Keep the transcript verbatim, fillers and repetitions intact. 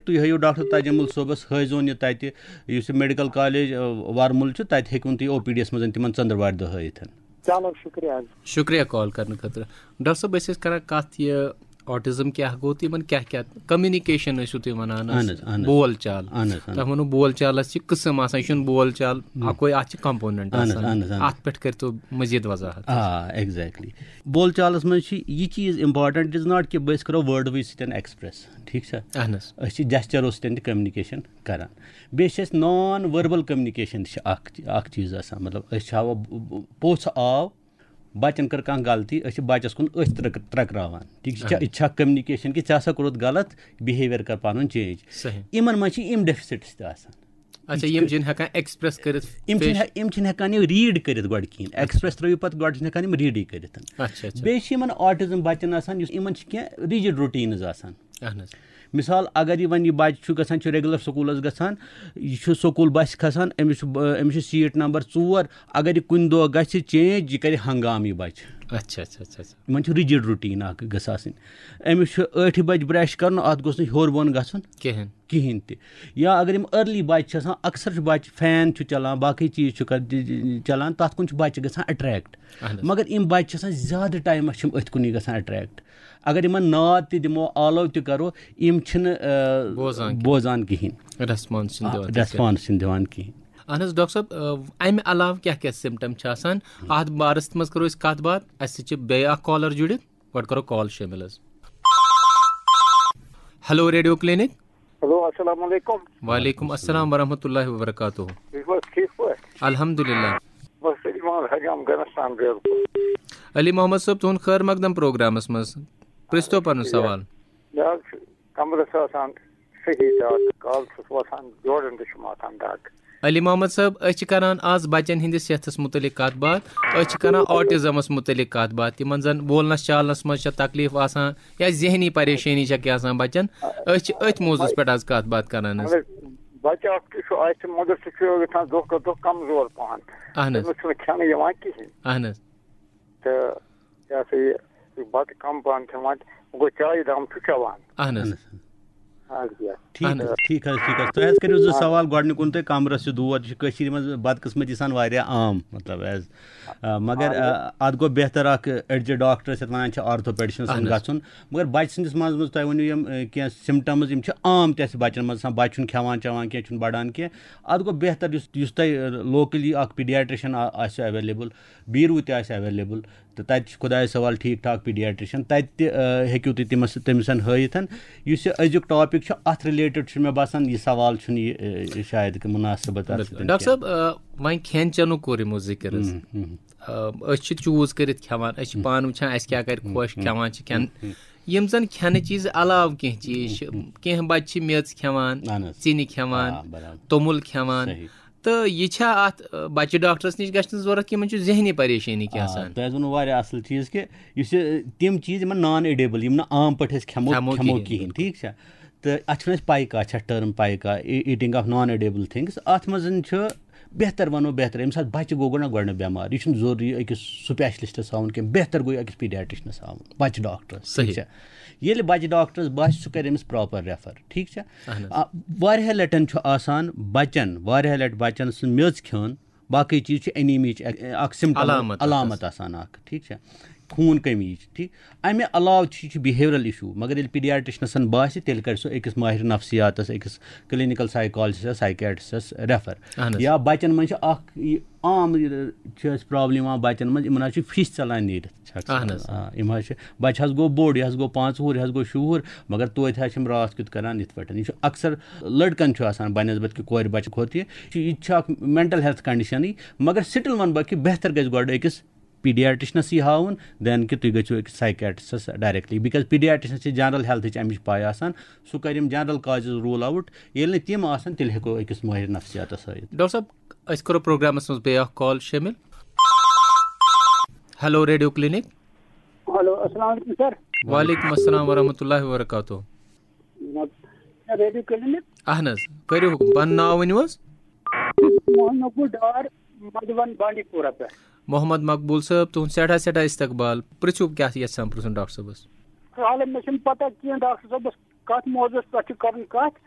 تُہۍ ہٲیِو ڈاکٹر تجمل صٲبس، ہٲیزون یہِ تتہِ، یُس یہِ میڈیکل کالج ورمُل چھُ، تتہِ ہیٚکون تُہۍ او پی ڈی یس منٛز تِمن ژٔنٛدٕروارِ دۄہ ہٲیِتھ۔ چلو، شُکریہ حظ۔ شُکریہ کال کرنہٕ خٲطرٕ۔ ڈاکٹر صٲب، أسۍ ٲسۍ کران کتھ، یہِ آٹزم کیٛاہ گوٚو تہٕ یِمن کیٛاہ کیٛاہ کمنیکیشن ٲسِو تُہۍ ونان حظ؟ اہن حظ، اہن حظ۔ بول چال۔ اہن حظ، اہن حظ۔ تۄہہِ ووٚنوُ بول چالس چھِ قٕسم آسان، یہِ چھُنہٕ بول چال اکوے، اتھ چھِ کمپوننٹ اہن حظ، آسان۔ اہن حظ، اہن حظ۔ اتھ پٮ۪ٹھ کٔرتو مزید وضاحت۔ آ، exactly۔ بول چالس منٛز چھِ یہِ چیٖز important، it is not کہِ بہٕ أسۍ کرو وٲڈوٕے سۭتۍ ایکسپریس، ٹھیٖک چھا؟ اہن حظ۔ أسۍ چھِ جیسچرو سۭتۍ تہِ کمنیکیشن کران۔ بیٚیہِ چھِ اَسہِ نان ؤربل کمنیکیشن تہِ چھِ اکھ، اکھ چیٖز آسان، مطلب أسۍ چھِ ہاوان ب-، ب-، پوٚژھ آو، بچن کٔر کانٛہہ غلطی، أسۍ چھِ بچس کُن أتھۍ ترٛک-، ترٛکراوان۔ ٹھیٖک چھا؟ اہن۔ یہِ چھا کمنیکیشن کہِ ژےٚ ہسا کوٚرُتھ غلط، بِہیویئر کر پنُن چینج۔ صحیح۔ یِمن منٛز چھِ یِم ڈیفسٹس تہِ آسان۔ اچھا، یِم چھِنہٕ ہٮ۪کان ایکسپریس کٔرِتھ، یِم چھِنہٕ پیش۔ ہٮ۪-، یِم چھِنہٕ ہٮ۪کان یہِ ریٖڈ کٔرِتھ گۄڈٕ کِہیٖنۍ۔ ایکسپریس ترٲوِو پتہٕ، گۄڈٕ چھِنہٕ ہٮ۪کان یِم ریٖڈٕے کٔرِتھ۔ اچھا، اچھا۔ بیٚیہِ چھِ یِمن آٹزم بچن آسان، یُس یِمن چھِ کینٛہہ رِجڈ روٹیٖنز آسان۔ اہن حظ۔ مثال، اگر یہِ وۄنۍ یہِ بچہِ چھُ گژھان، چھُ ریگولر سکوٗلس گژھان، یہِ چھُ سکوٗل بسہِ کھسان، أمِس چھُ ب-، أمِس چھُ سیٖٹ نمبر ژور، اگر یہِ کُنہِ دۄہ گژھِ چینج، یہِ کرِ ہنگامہٕ یہِ بچہِ۔ اچھا، اچھا، اچھا، اچھا۔ یِمن چھُ رِجڈ روٹیٖن اکھ گٔژھ آسٕنۍ۔ أمِس چھُ ٲٹھِ بجہِ برش کرُن، اتھ گوٚژھ نہٕ ہیوٚر بۄن گژھُن۔ کِہیٖنۍ۔ کِہیٖنۍ تہِ۔ یا اگر یِم ارلی بچہِ چھِ آسان، اکثر چھُ بچہِ فین چھُ چلان، باقٕے چیٖز چھُ کر-، چلان، تتھ کُن چھُ بچہِ گژھان اٹریکٹ۔ اہن حظ۔ مگر یِم بچہِ چھِ آسان زیادٕ ٹایمس چھِ یِم أتھۍ کُنُے گژھان اٹریکٹ۔ اگر یِمن ناد تہِ دِمو، آلو تہِ کرو، یِم چھِنہٕ، آ، بوزان کِہیٖنۍ۔ بوزان کِہیٖنۍ۔ ریسپانس چھِنہٕ آ، دِوان تِتھ کٔنۍ۔ ریسپانس چھِنہٕ دِوان کِہیٖنۍ۔ اہن حظ، ڈاکٹر صٲب، آ، امہِ علاوٕ کیٛاہ کیٛاہ سمٹم چھِ آسان؟ اتھ بارس منٛز کرو أسۍ کتھ باتھ۔ اسہِ سۭتۍ چھِ بیٚیہِ اکھ کالر جُڑِتھ۔ گۄڈٕ کرو کال شٲمِل حظ۔ Hello, radio clinic. ہیلو، السلام علیکم۔ وعلیکم السلام ورحمۃ اللہ وبرکاتہ۔ تُہۍ چھِو حظ ٹھیٖک پٲٹھۍ؟ الحمدللہ۔ بس، علی محمد حجام گنستان، بالکل۔ علی محمد صٲب، تُہُنٛد خٲر مقدم پروگرامس منٛز۔ پرٛژھتو پنُن سوال۔ مےٚ حظ چھُ کمرس آسان صحیح دگ، کالہٕ چھُس وۄتھان، جوڑن تہِ چھُم آسان دگ۔ علی محمد صٲب، أسۍ چھِ کران آز بچن ہٕنٛدِس صحتس متعلق کتھ باتھ، أسۍ چھِ کران آٹزمس متعلق کتھ باتھ، تِمن زن بولنس چالنس منٛز چھےٚ تکلیف آسان یا ذہنی پریشٲنی چھےٚ کینٛہہ آسان بچن، أسۍ چھِ أتھۍ موضوعس پٮ۪ٹھ آز کتھ باتھ کران حظ۔ مگر بچہٕ اکھ تہِ چھُ اَسہِ، مگر سُہ چھُ یژھان دۄہ کھۄتہٕ دۄہ کمزور پہن۔ اہن حظ۔ تٔمِس چھُنہٕ کھٮ۪نہٕ یِوان کِہیٖنۍ۔ اہن حظ۔ تہٕ یہِ ہسا یہِ بتہٕ کم پہن کھٮ۪وان، وۄنۍ گوٚو چایہِ دام چھُ چٮ۪وان۔ اہن حظ۔ اہن حظ۔ اَدٕ کیٛاہ۔ ٹھیٖک اہن حظ، حظ۔ ٹھیٖک حظ، ٹھیٖک حظ۔ تۄہہِ حظ کٔرِو زٕ آ۔ سوال۔ گۄڈٕنیُک ووٚن تۄہہِ کمرَس چھُ دود، یہِ چھُ کٔشیٖرِ منٛز بدقٕسمتی سان واریاہ عام، مطلب، as، آ، مگر، آ، آ، اَتھ گوٚو بہتر اَکھ أڈجہِ ڈاکٹر یَتھ وَنان چھِ آرتھوپیڈِشَنَس اہن حظ۔ گژھُن۔ مگر بَچہٕ سٕنٛدِس منٛز، منٛز تۄہہِ ؤنِو یِم، آ، کینٛہہ سِمٹَمٕز، یِم چھِ عام تہِ اَسہِ بَچَن منٛز آسان، بَچہٕ چھُنہٕ کھٮ۪وان چٮ۪وان کینٛہہ، چھُنہٕ بَڑان کینٛہہ۔ اَتھ گوٚو بہتر یُس، یُس تۄہہِ، آ، locally اَکھ پیٖڈیاٹرٛشَن آ-، آسہِ ایویلیبٕل، بیٖروٗ تہِ آسہِ ایویلیبٕل۔ تہٕ تَتہِ چھُ خۄدایَس حوالہٕ ٹھیٖک ٹھاک پیٖڈیاٹرٛشَن، تَتہِ تہِ، آ، ہیٚکِو تُہۍ تٔمِس، تٔمِس ہٲیِتھ۔ یُس یہِ أزیُک ٹاپِک چھُ، اَتھ رِلیٹِڈ چھُ مےٚ باسان، یہِ سوال چھُنہٕ یہِ، آ، شاید کہِ مُناسِبت اَتھ بِلکُل۔ سۭتۍ ڈاکٹر کینٛہہ۔ صٲب، آ، وۄنۍ کھٮ۪ن چٮ۪نُک کوٚر یِمو ذِکِر حظ۔ ہُم، ہُم۔ آ، أسۍ چھِ چوٗز کٔرِتھ کھٮ۪وان، أسۍ چھِ ہُم۔ پانہٕ وٕچھان اَسہِ کیٛاہ کَرِ ہُم، خۄش، ہُم۔ کھٮ۪وان چھِ کھٮ۪ن۔ ہُم، ہُم۔ یِم زَن کھٮ۪نہٕ چیٖز علاوٕ کینٛہہ چیٖز چھِ، ہُم، ہُم۔ کینٛہہ بَچہِ چھِ میٚژ کھٮ۪وان، اہن حظ۔ ژِنہِ کھٮ۪وان، آ، برابر۔ توٚمُل کھٮ۪وان۔ صحیح۔ تہٕ یہِ چھا اَتھ، آ، بَچہِ ڈاکٹرَس نِش گژھنٕچ ضوٚرَتھ، یِمَن چھُ ذہنی پریشٲنی کینٛہہ آ، آسان؟ تۄہہِ حظ ووٚنوُ واریاہ اَصٕل چیٖز کہِ یُس یہِ، تِم چیٖز یِمَن نان ایڈیبٕل، یِم نہٕ عام پٲٹھۍ أسۍ کھٮ۪مو، کھٮ۪مو کھٮ۪مو کِہیٖنۍ، کِہیٖنۍ، بِلکُل۔ ٹھیٖک چھا؟ تہٕ اَتھ چھُنہٕ اَسہِ پایکا، اَتھ چھا ٹٔرٕم پایکا، ای-، eating of non edible things، اَتھ منٛز چھُ بہتر، وَنو بہتر، ییٚمہِ ساتہٕ بَچہٕ گوٚو گۄڈٕ، گۄڈٕ نہٕ بٮ۪مار، یہِ چھُنہٕ ضروٗری أکِس سُپیشلِسٹَس ہاوُن کینٛہہ، بہتر گوٚو أکِس پیٖڈیاٹرٛشنَس ہاوُن، بَچہٕ ڈاکٹرَس، ٹھیٖک صحیح۔ چھا؟ ییٚلہِ بَچہٕ ڈاکٹرَس باسہِ، سُہ کَرِ أمِس پراپر ریفر، ٹھیٖک چھا؟ اہن حظ۔ آ، واریاہ لَٹٮ۪ن چھُ آسان بَچَن، واریاہ لَٹہِ بَچَن سٕنٛز میٚژ کھیوٚن، باقٕے چیٖز چھِ انیمیا ہٕچ اکھ، اکھ سِمٹم، علامت اکھ علامت آسان۔ آسان اکھ، ٹھیٖک چھا؟ خوٗن کمی ہٕچ، ٹھیٖک۔ امہِ علاوٕ چھِ، یہِ چھُ behavioural issue، مگر ییٚلہِ پیٖڈیاٹرٛشنَسَن باسہِ، تیٚلہِ کَرِ سُہ أکِس ماہر نفسیاتَس، أکِس clinical psychologist، psychiatrist ریفر۔ اہن حظ۔ یا بَچَن منٛز چھِ اکھ یہِ عام، یہِ چھِ اَسہِ پرابلم یِوان بَچَن منٛز، یِمَن حظ چھِ فِش ژَلان نیٖرِتھ۔ چھِ اکثر اہن حظ۔ آ، یِم حظ چھِ، بَچہٕ حظ گوٚو بوٚڑ، یہِ حظ گوٚو پانٛژھ وُہُر، یہِ حظ گوٚو شُہُر، مگر توتہِ حظ چھِ یِم راتھ کیُتھ کَران یِتھ پٲٹھۍ۔ یہِ چھُ اکثر لٔڑکَن چھُ آسان بنسبت کہِ کورِ بَچہٕ کھۄتہٕ یہِ۔ چھُ، یہِ تہِ چھُ اکھ mental health conditionٕے، مگر still وَنہٕ بہٕ کہِ بہتر گژھِ گۄڈٕ أکِس پیٖڈیاٹرٛشنَسٕے ہاوُن، then کہِ تُہۍ گٔژھِو أکِس psychiatristس directly، because پیٖڈیاٹرٛشنَس چھِ general healthٕچ اَمِچ پَے آسان، سُہ کَرِ یِم general causes rule out، ییٚلہِ نہٕ تِم آسَن، تیٚلہِ ہٮ۪کو أکِس مٲہِر نفسیاتَس ہٲوِتھ۔ ڈاکٹر صٲب، أسۍ کَرو پروگرامَس منٛز بیٚیہِ اکھ کال شٲمِل۔ Hello, radio clinic. ہیلو، السلام علیکم سر۔ وعلیکم السلام ورحمۃ اللہ وبرکاتہ۔ جناب، ریڈیو کلینک۔ اہن حظ، کٔرِو حُکُم، پَنُن ناو ؤنِو حظ۔ محمد مقبول ڈار، مدوَن بانڈی پورہ پٮ۪ٹھ۔ محمد مقبول صٲب، تُہُنٛد سٮ۪ٹھاہ سٮ۪ٹھاہ استقبال۔ پرٛژھِو کیٛاہ یَژھان پرٛژھُن ڈاکٹر صٲبَس۔ حالے مےٚ چھُنہٕ پتہ کینٛہہ ڈاکٹر صٲبَس کَتھ موضوعس پٮ۪ٹھ چھِ کَرٕنۍ کَتھ۔